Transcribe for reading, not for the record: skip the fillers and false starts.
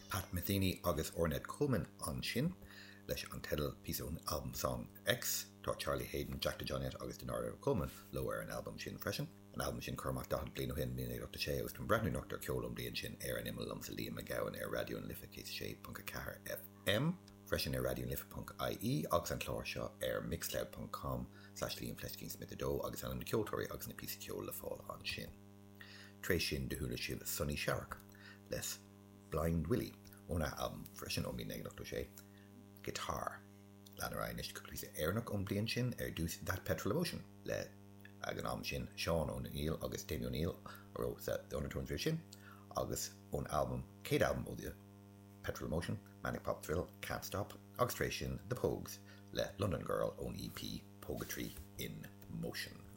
Pat Metheny agus Ornette Coleman ansin leis an teideal, píosa ón albam Song X. Tá Charlie Haden, Jack DeJohnette agus Denardo Coleman leo ar an albam sin freisin. An albam sin curtha amach 40 bliain ó shin, 1986, agus táim ag breathnú anocht ar cheol ón mbliain sin ar an imeall liomsa Liam Mac Gabhann ar Raidió na Life 106.4 FM, freisin ar raidionalife.ie agus an clár seo ar mixcloud.com slash liamfleiscínsmith2 agus ainm na ceoltóirí agus na píosaí ceoil le fáil ansin. Tar éis sin do chuala sibh Sonny Sharrock le Blind Willie óna albam freisin ó 1986, Guitar. Lean ar aghaidh anois cúpla píosa Éireannach ón bliain sin, ar dtús That Petrol Emotion le, ag an am sin, Seán O'Neill agus Damien O'Neill a raibh sa The Undertones roimh sin, agus ón albam, céad albam ó The Petrol Emotion, Manic Pop Thrill, Can't Stop, agus tar éis sin The Pogues le London Girl ón EP Poguetry in Motion.